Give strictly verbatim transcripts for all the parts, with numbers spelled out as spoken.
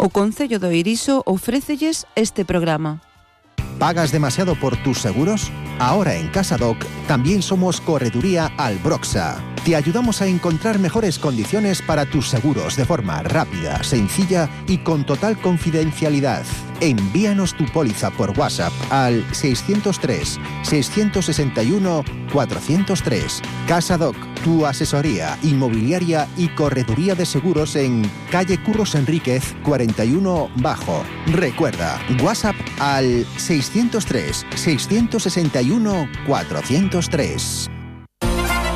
O Concello do Eirixo ofrécelles este programa. ¿Pagas demasiado por tus seguros? Ahora en CasaDoc también somos Correduría Albroxa. Te ayudamos a encontrar mejores condiciones para tus seguros de forma rápida, sencilla y con total confidencialidad. Envíanos tu póliza por WhatsApp al seiscientos tres, seiscientos sesenta y uno, cuatrocientos tres. CasaDoc, tu asesoría inmobiliaria y correduría de seguros en calle Curros Enríquez cuarenta y uno Bajo. Recuerda, WhatsApp al seiscientos tres, seiscientos sesenta y uno, cuatrocientos tres.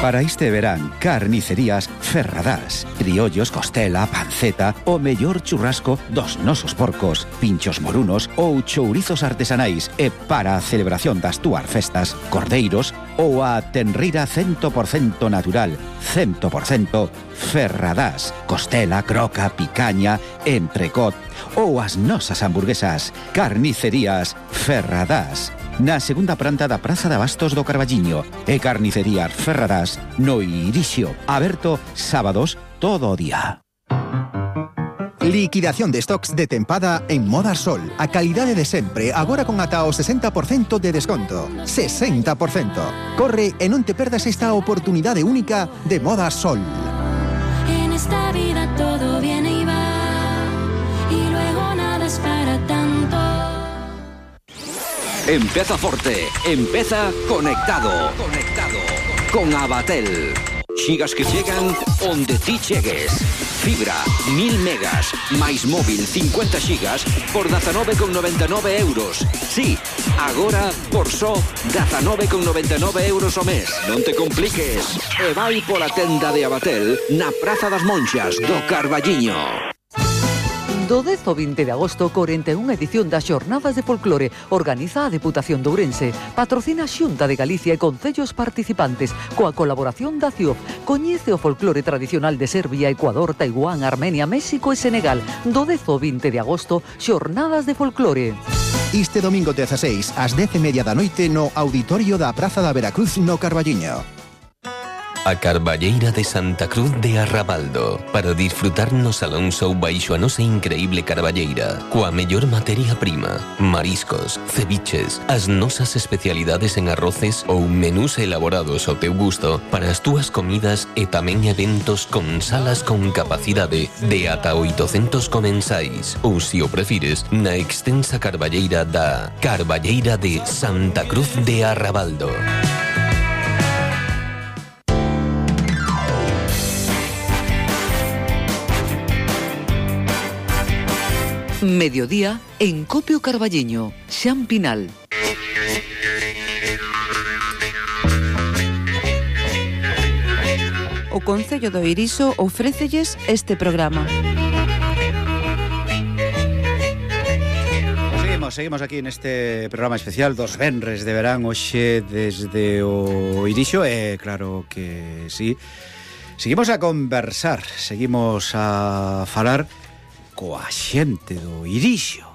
Para este verán, carnicerías Ferradás. Criollos, costela, panceta, o mellor churrasco dos nosos porcos, pinchos morunos ou chourizos artesanais. E para a celebración das túas festas, cordeiros ou a tenrira cien por ciento natural, cien por ciento Ferradás. Costela, croca, picaña, entrecot ou as nosas hamburguesas. Carnicerías Ferradás. Na segunda planta da Praza de Abastos do Carballiño e Carnicerías Ferradás no Irixio, aberto sábados todo o día. Liquidación de stocks de tempada en Moda Sol. A calidade de sempre, agora con ata o sesenta por cento de desconto. sesenta por cento. Corre e non te perdas esta oportunidade única de Moda Sol. En esta vida todo viene y va, y luego nada es para tanto. Empeza forte, empeza conectado. Conectado con Abatel. Xigas que chegan onde ti chegues. Fibra, mil megas, máis móvil cincuenta xigas por dezanove con noventa e nove euros. Sí, agora por só dezanove con noventa e nove euros ao mes. Non te compliques. E vai pola tenda de Abatel na Praza das Monxas do Carballiño. Do dez ao vinte de agosto, corenta e unha edición das Xornadas de Folclore. Organiza a Deputación de Ourense. Patrocina a Xunta de Galicia e concellos participantes. Coa colaboración da C I O F. Coñece o folclore tradicional de Serbia, Ecuador, Taiwán, Armenia, México e Senegal. Do dez ao vinte de agosto, Xornadas de Folclore. Este domingo dezaseis, ás dez e media da noite, no auditorio da Praza da Veracruz no Carballiño. A Carballeira de Santa Cruz de Arrabaldo, para disfrutar no salón show baixo a nosa increíble carballeira, coa mellor materia prima, mariscos, ceviches, as nosas especialidades en arroces ou menús elaborados ao teu gusto para as túas comidas e tamén eventos con salas con capacidade de ata oitocentos comensais, ou se o prefires, na extensa carballeira da Carballeira de Santa Cruz de Arrabaldo. Mediodía en Copio Carballiño, Xan Pinal. O Concello do Eirixo ofrécelles este programa. Seguimos, seguimos aquí neste programa especial dos venres de verán hoxe desde o Eirixo e claro que sí. Seguimos a conversar, seguimos a falar coa xente do Irixo.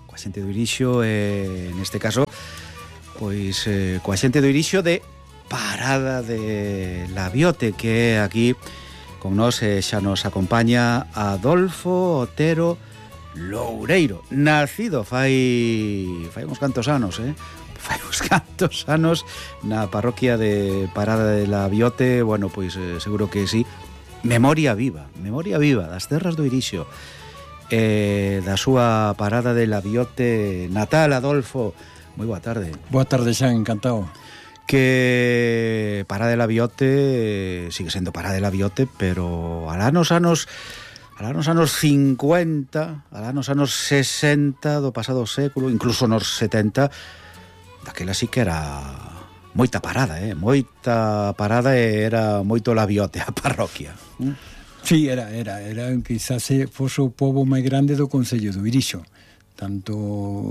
Coa xente do Irixo, eh, neste caso, pois eh, coa xente do Irixo de Parada de Labiote, que é aquí con nós eh, xa nos acompaña Adolfo Otero Loureiro, nacido fai fai uns cantos anos, eh? Fai uns cantos anos na parroquia de Parada de Labiote. Bueno, pois eh, seguro que sí. Memoria viva, memoria viva das terras do Irixo. Eh, da súa Parada de Labiote natal. Adolfo, moi boa tarde. Boa tarde, Xan, encantado. Que Parada de Labiote sigue sendo Parada de Labiote, pero alá nos anos alá nos anos cincuenta, alá nos anos sesenta do pasado século, incluso nos setenta, daquela sí que era moita parada, eh? moita parada e era moito Labiote a parroquia. ¿Mm? Sí, era, era, era quizás fose o pobo máis grande do Concello do Irixo, tanto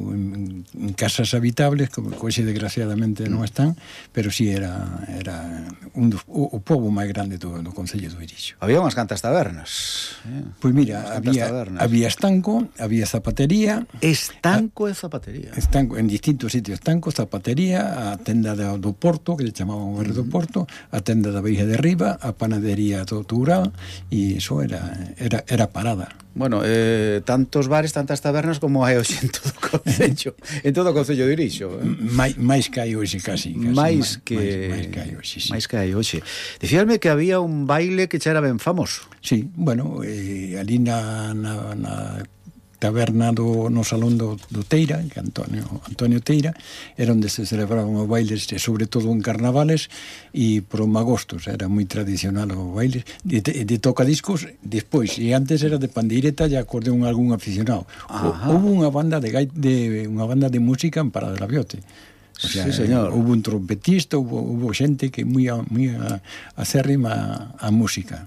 en, en casas habitables, como hoxe desgraciadamente non están, pero sí era, era un dos, o, o pobo máis grande do, do Concello do Irixo. Había unhas cantas tabernas. Eh? Pois mira, había, había estanco, había zapatería. Estanco e zapatería. Estanco, en distintos sitios, estanco, zapatería, a tenda do, do Porto, que le chamaban o barrio do Porto, a tenda da Veiga de Riba, a panadería do Toural, e iso era, era, era parada. Bueno, eh, tantos bares, tantas tabernas como hai hoxe en todo o concello, en todo o concello de Irixo. Eh? Mais, máis que hai hoxe casi, casi máis que máis, máis que hai hoxe, sí. Máis que hai hoxe. Dicíasme que había un baile que xa era ben famoso. Sí, bueno, eh, ali na, na, na taberna do, no salón do, do Teira, que Antonio, Antonio Teira, era onde se celebraban os bailes, sobre todo en carnavales e por magostos, era moi tradicional os bailes de, de, de tocadiscos despois, e antes era de pandeireta e acordeón algún aficionado. O, houve unha banda de, de unha banda de música en Parada de la Biote. O sea, sí, señor. Houve un trompetista, houve, houve xente que moi moi acérrima a música.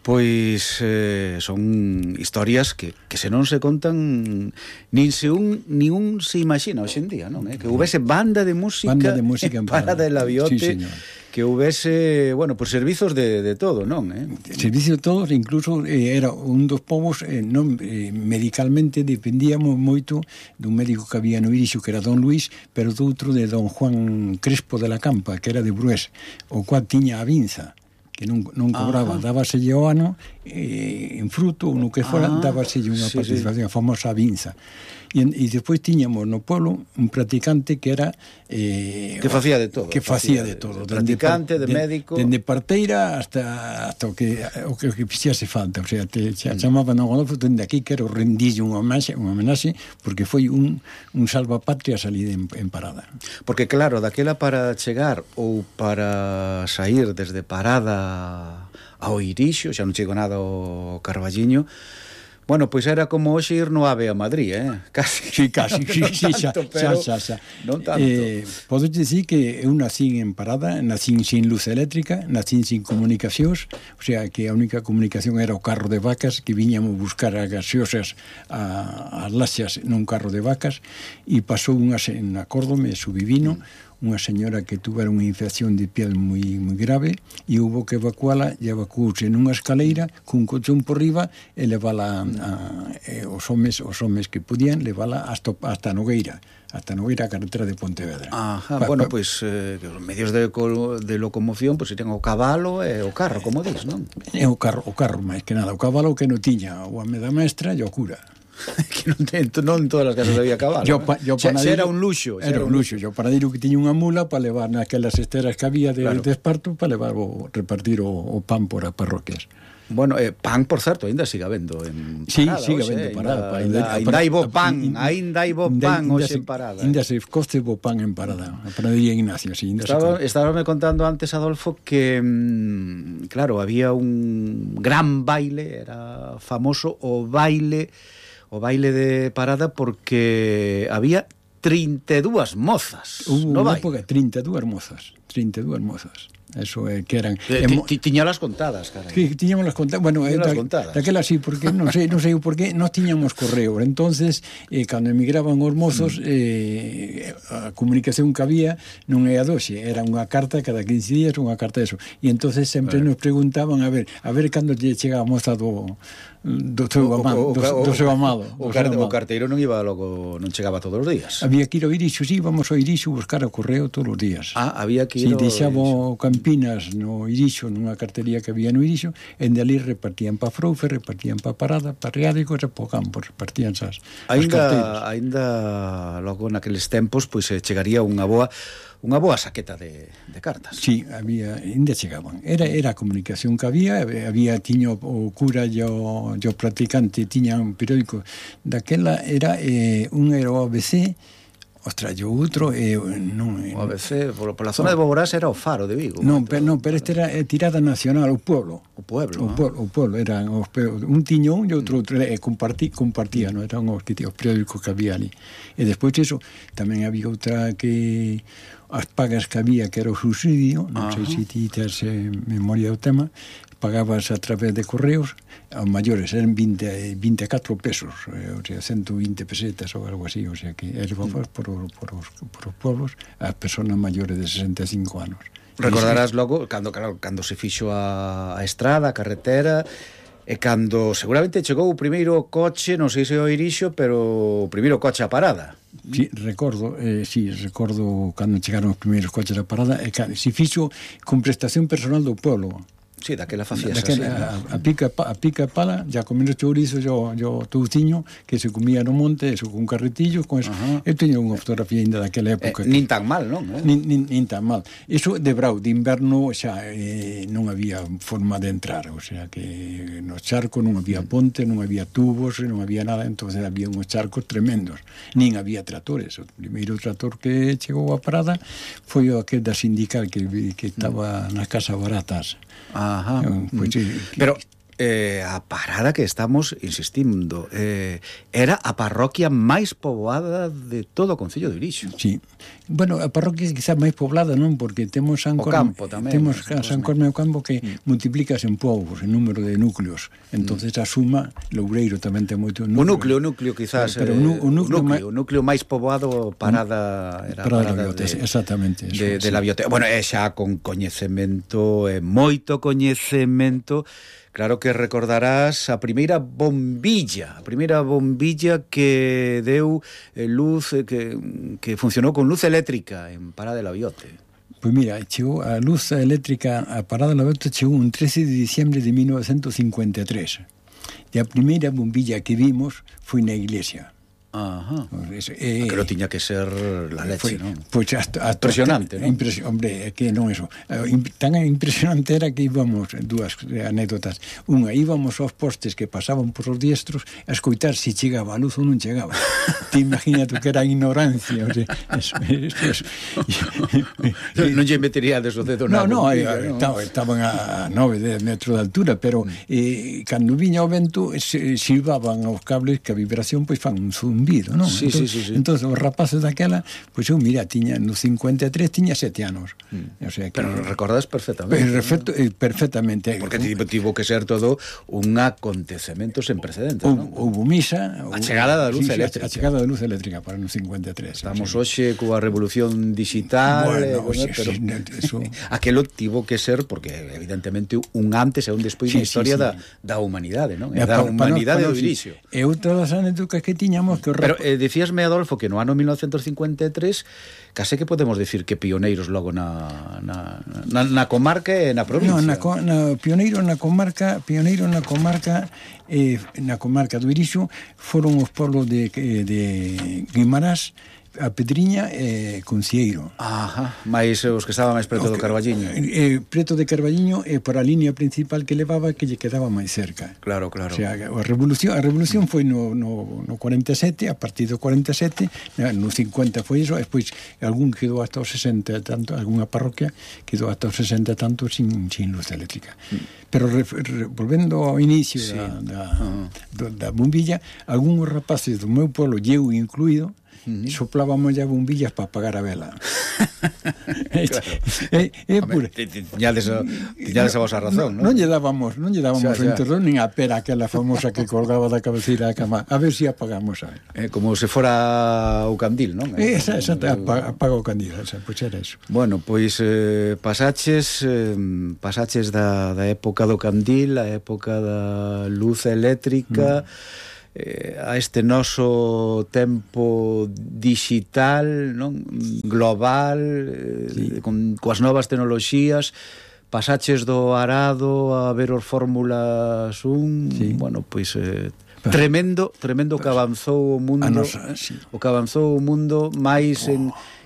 Pois eh, son historias que, que se non se contan nin se un, ni un se imagina hoxe en día, non? Eh? Que houvese banda de música, banda de música en Parada de la Biote, sí, señor. Que houvese, bueno, por servizos de, de todo, non? Eh? Servicios de todos, incluso eh, era un dos povos, eh, non, eh, medicalmente dependíamos moito dun médico que había no Irixo, que era don Luís, pero do outro de don Juan Crespo de la Campa, que era de Brués, o cual tiña a vinza, que non, non cobraba, ah, dábaselle o ano eh, en fruto ou no que fora, ah, dábaselle unha sí, participación, sí. A famosa vinza. E, e despois tiñamos no pueblo un practicante que era eh, que facía de todo, que facía de, de todo, de practicante, de, de médico, dende parteira hasta hasta o que o que, o que fixase falta, o sea, te mm. chamaban a Godolfo, dende aquí quero rendille unha homenaxe, unha homenaxe porque foi un un salvapatrias ali en, en Parada. Porque claro, daquela para chegar ou para sair desde Parada ao Irixo, xa non chego nada ao Carballiño. Bueno, pois era como hoxe ir no AVE a Madrid, eh? Casi. Sí, casi, sí, non sí, tanto, xa, pero xa, xa. Non tanto. Eh, podo dicir que eu nacín en Parada, nacín sin luz eléctrica, nacín sin comunicacións, o sea, que a única comunicación era o carro de vacas, que viñamos buscar as gaseosas a, as laxas nun carro de vacas, e pasou unha, en acórdome, subivino, mm. unha señora que tuvera unha infección de piel moi, moi grave e houve que evacuala e evacuouse nunha escaleira cun colchón por riba e levala a, a, os homes os homes que podían levala hasta, hasta Nogueira hasta Nogueira, a carretera de Pontevedra. Ajá, pa, bueno, pois pues, eh, os medios de, de locomoción pois pues, ten o cabalo e o carro, como dis, non? É o carro, o carro máis que nada, o cabalo que non tiña o home da mestra e o cura. Que non, ten, non en todas as casas había cabalo. Yo, pa, yo panadero, era un luxo. Era un luxo. Yo panadero que tiña unha mula para levar naquelas esteras que había de, claro. de esparto para levar o, repartir o, o pan por as parroquias. Bueno, eh, pan, por certo, ainda siga vendo en sí, Parada. Sí, siga vendo en Parada. Ainda, ainda, ainda hai bo pan, ainda hai bo pan hoxe en Parada. Ainda se coste bo pan en Parada. A panadería Ignacio, sí. Estaba, estaba me contando antes, Adolfo, que, mmm, claro, había un gran baile, era famoso o baile... o baile de Parada porque había trinta e dúas mozas. Hubo no unha época, trinta e dúas mozas. trinta e dúas mozas. Eso é que eran... Eh, tiñalas contadas, carai. Sí, tiñamos las contadas. Bueno, eh, da, contadas. Daquela sí, porque non sei, non sei por qué, non tiñamos correo. Entonces, eh, cando emigraban os mozos, mm. eh, a comunicación que había non é a doxe, era unha carta cada quince días, unha carta de eso. E entonces sempre bueno. nos preguntaban, a ver, a ver cando lle chega a moza do... do seu amado, do, do seu amado. O, o, o carteiro non iba logo, non chegaba todos os días. Había que ir ao Irixo, sí, vamos ao Irixo buscar o correo todos os días. Ah, había que ir sí, deixaba o Campinas no Irixo, nunha cartería que había no Irixo, en de ali repartían pa Froufe, repartían pa Parada, pa Riádico e pa Campo, repartían as, as carteiras. Ainda logo naqueles tempos, pois pues, chegaría unha boa unha boa saqueta de, de cartas. Sí, había, ainda chegaban. Era, era a comunicación que había, había tiño o cura e o, o practicante, tiña un periódico. Daquela era, eh, un era o A B C, ostras, o outro eh, non, o A B C, por, por la zona de Boborás era o Faro de Vigo. Non, pero, no, pero este era eh, tirada nacional, o pueblo. O pueblo, o, ah. pueblo, o pueblo, eran os, un tiñón e outro, outro eh, compartí, compartía, non eran os, que, os periódicos que había ali. E despois eso, tamén había outra que as pagas que había, que era o subsidio, non Ajá. sei se ti tes eh, memoria do tema, pagabas a través de correos, aos maiores eran veinte, vinte e catro pesos, eh, o sea, ciento veinte pesetas ou algo así, o sea, que era mm. por, por, os, por os pueblos as persoas maiores de sesenta e cinco anos. Recordarás logo, cando, claro, cando se fixo a, a estrada, a carretera, e cando seguramente chegou o primeiro coche, non sei se o Irixo, pero o primeiro coche a Parada. Sí, recordo, eh, sí, recordo cando chegaron os primeiros coches a Parada, e se fixo con prestación personal do pueblo. Sí, daquela facías daquela, así, a, a pica a pica pala, ya comiendo chourizo, yo yo touciño que se comía no monte, eso con carretillos, con eso. Uh-huh. Eu teño unha fotografía ainda daquela época. Eh, nin tan mal, non? Eh? Nin, nin, nin tan mal. Eso de brau, de inverno xa eh, non había forma de entrar, o sea que no charco non había ponte, non había tubos, non había nada, entonces había uns charcos tremendos. Nin había tratores. O primeiro trator que chegou a Parada foi o aquel da sindical que, que estaba nas casas baratas. Ajá. Pues, sí, pero eh, a Parada que estamos insistindo eh, era a parroquia máis poboada de todo o concello de Irixo. Sí. Bueno, a parroquia é quizás máis poblada, non? Porque temos San Corme, campo tamén, temos a San Corme o Campo que mm. multiplicas en povos, en número de núcleos. Entonces mm. a suma, Loureiro tamén ten moito núcleo. O núcleo, o núcleo quizás, pero, pero eh, o, núcleo, o, núcleo, o núcleo máis poboado Parada era Parada, Parada de, de, exactamente eso, de, de sí. la biblioteca. Bueno, é xa con coñecemento, eh, moito coñecemento. Claro que recordarás a primeira bombilla, a primeira bombilla que deu eh, luz, eh, que, que funcionou con luz eléctrica en Parada de la Biote. Pois mira, chegou a luz eléctrica a Parada de la Biote chegou un trece de diciembre de mil novecientos cincuenta e tres. E a primeira bombilla que vimos foi na iglesia. Ajá. Pues, eh, que lo tiña que ser la leche, ¿no? Pues hasta, hasta impresionante, ¿no? Impresi hombre, que non eso. Tan impresionante era que íbamos, dúas anécdotas. Unha, íbamos aos postes que pasaban por os diestros a escoitar se chegaba a luz ou non chegaba. Te imagínate que era ignorancia, o sea, eso, eso, eso. Non lle metería de o dedo na no, no, bombilla, eh, no, estaban a nove, dez metros de altura, pero eh, cando viña o vento se, silbaban aos cables que a vibración pois fan un zoom Vido, non? Sí, entón, sí, sí, sí. entón, os rapaces daquela, pois eu, mira, tiña no cincuenta e tres tiña sete anos. Mm. O sea, que, pero recordas perfectamente. Perfecto, ¿no? Perfectamente. Porque tivo, tivo que ser todo un acontecemento sen precedentes, non? Houve misa. A chegada da luz sí, eléctrica. A chegada da luz eléctrica para no cincuenta e tres. Estamos sí. hoxe coa revolución digital, bueno, eh, sí, pero sí, eso... aquelo tivo que ser, porque evidentemente un antes e un despois sí, na historia sí, sí. da, da humanidade, non? Da, da humanidade no, do Irixo. E outra das anécdotas que tiñamos que... Pero eh, decíasme, Adolfo, que no ano mil novecientos cincuenta e tres case que podemos decir que pioneiros logo na, na, na, na comarca e na provincia. No, na, na, pioneiro na comarca, pioneiro na comarca eh, na comarca do Irixo foron os pueblos de, de Guimarás, a Pedriña e eh, Concieiro. Ajá, máis os que estaban máis preto do Carballiño. Eh, preto de Carballiño e eh, por a línea principal que levaba que lle quedaba máis cerca. Claro, claro. O sea, a revolución, a revolución foi no, no, no cuarenta e sete, a partir do cuarenta e sete, no cincuenta foi iso, e despois algún quedou hasta os sesenta tanto, algunha parroquia quedou hasta os sesenta tanto sin, sin luz eléctrica. Mm. Pero re, re, volvendo ao inicio sí. da, da, uh-huh. do, da bombilla, algúns rapaces do meu pueblo, eu incluído, Uh-huh. soplábamos ya bombillas para apagar a vela. Claro. é, é pura. Tiñades a, tiñades a vosa razón, non? Non lle dábamos, non lle dábamos o enterdón nin a pera aquela famosa que colgaba da cabeceira da cama. A ver se si apagamos a vela. Eh, como se fora o candil, non? Eh, esa, esa, apaga, apaga o candil, esa, pois era eso. Bueno, pois eh, pasaches eh, pasaches da, da época do candil, a época da luz eléctrica, mm. Eh, a este noso tempo digital, non? Global, eh, sí. con coas novas tecnoloxías, pasaches do arado a ver os Fórmulas un, sí. bueno, pois eh, tremendo, tremendo que avanzou o mundo, nosa, sí. o que avanzou o mundo máis oh. en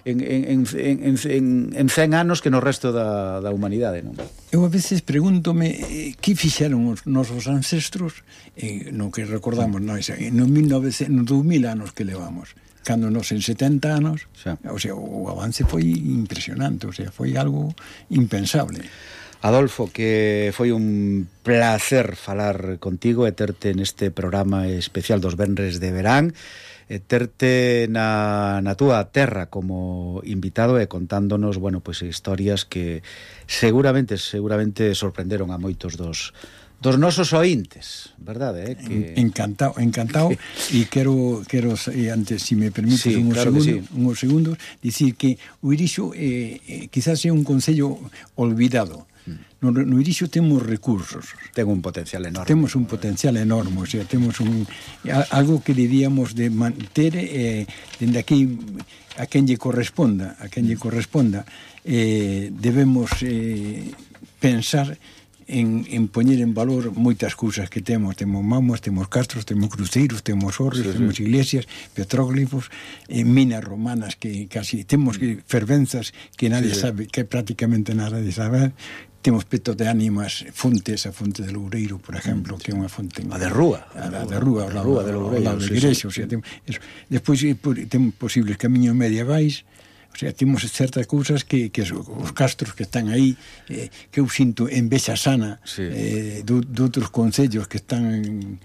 En, en, en, en, en cen anos que no resto da, da humanidade, non? Eu a veces pregúntome eh, que fixeron os nosos ancestros eh, no que recordamos nós no mil novecientos, no dous mil anos que levamos, cando nos en setenta anos, xa. O sea, o avance foi impresionante, o sea, foi algo impensable. Adolfo, que foi un placer falar contigo e terte neste programa especial dos Venres de Verán, e terte na, na túa terra como invitado e contándonos, bueno, pois pues, historias que seguramente seguramente sorprenderon a moitos dos dos nosos ointes, verdade, eh, que encantado, encantado e quero quero e antes, se si me permites sí, un claro segundo, sí. uns segundos, dicir que o Irixo eh, eh, quizás é un concello olvidado. No, no Irixo temos recursos. Ten un potencial enorme. Temos un potencial enorme, o sea, temos un algo que diríamos de manter eh, dende aquí a quen lle corresponda, a quen lle corresponda, eh, debemos eh, pensar en, en poñer en valor moitas cousas que temos. Temos mamos, temos castros, temos cruceiros, temos orres, sí, temos sí. iglesias, petróglifos, eh, minas romanas que casi temos que fervenzas que nadie sí, sí. sabe, que prácticamente nadie sabe. Temos petos de ánimas, fontes, a fonte de Loureiro, por exemplo, mm, que é unha fonte... A de Rúa. A, a de Rúa, a Rúa de Loureiro. A da igrexa, sí, sí. O sea, temos, eso. Despois temos posibles camiños medievais, o sea, temos certas cousas que, que os castros que están aí, eh, que eu sinto en Bexa Sana, sí. eh, de, de outros concellos que están... En,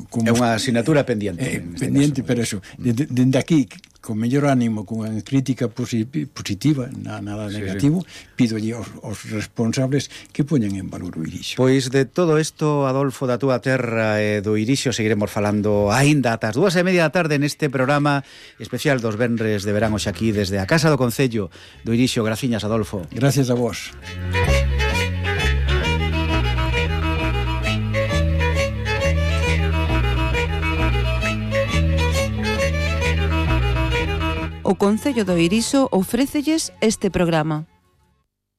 como, é unha asignatura pendiente. Eh, pendiente, caso. Pero eso, dende de, de aquí... con mellor ánimo, con unha crítica positiva, nada negativo, sí, sí. Pídolle aos, aos responsables que poñan en valor o Irixo. Pois de todo isto, Adolfo, da túa terra e do Irixo, seguiremos falando aínda ata as dúas e media da tarde neste programa especial dos venres de verán hoxe aquí desde a Casa do Concello do Irixo. Graciñas, Adolfo. Gracias a vos. O Concello do Irixo ofrécelles este programa.